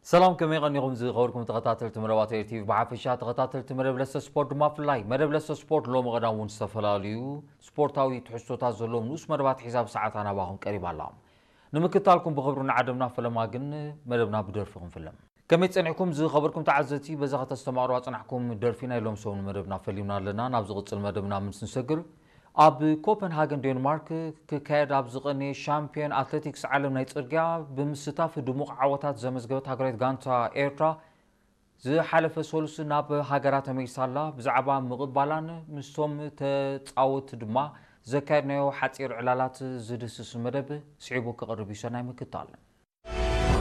ሰላም፣ ከመይ ቀኒኹም ዝኸበርኩም ተኸታተልቲ መደባት ኤር ቲ ቪ ብሓፈሻ፣ ተኸታተልቲ መደብ ለሰ ስፖርት ድማ ብፍላይ? መደብ ለሰ ስፖርት ሎሚ ቀዳም እውን ዝተፈላለዩ ስፖርታዊ ትሕዝቶታት ዘለዎም ንኡስ መደባት ሒዛ ብሰዓታ ናባኹም ቀሪባ ኣላ። ንምክታልኩም ብኽብሪ ንዓደምና፣ ፈለማ ግን መደብና ብደርፊ ክንፍለም። ከመይ ጸኒሕኩም ዝኸበርኩም ተዓዘብቲ? በዛ ከተስተማቕሩ ኣጽናሕኩም ደርፊ ናይ ሎም ሰሙን መደብና ፈሊምና ኣለና። ናብ ዝቕጽል መደብና ምስ ንሰግር፣ ኣብ ኮፐንሃገን ዴንማርክ ክካየድ ኣብ ዝቐነየ ሻምፒዮን ኣትሌቲክስ ዓለም ናይ ጽርግያ ብምስታፍ ድሙቕ ዓወታት ዘመዝገበት ሃገራዊት ጋንታ ኤርትራ ዝሓለፈ ሰሉስ ናብ ሃገራ ተመሊሳ ኣላ። ብዛዕባ ምቕባላን ምስቶም ተጻወትቲ ድማ ዘካየድናዮ ሓጺር ዕላላት ዝድህስስ መደብ ስዒቡ ክቐርብ እዩ። ሰናይ ምክታል።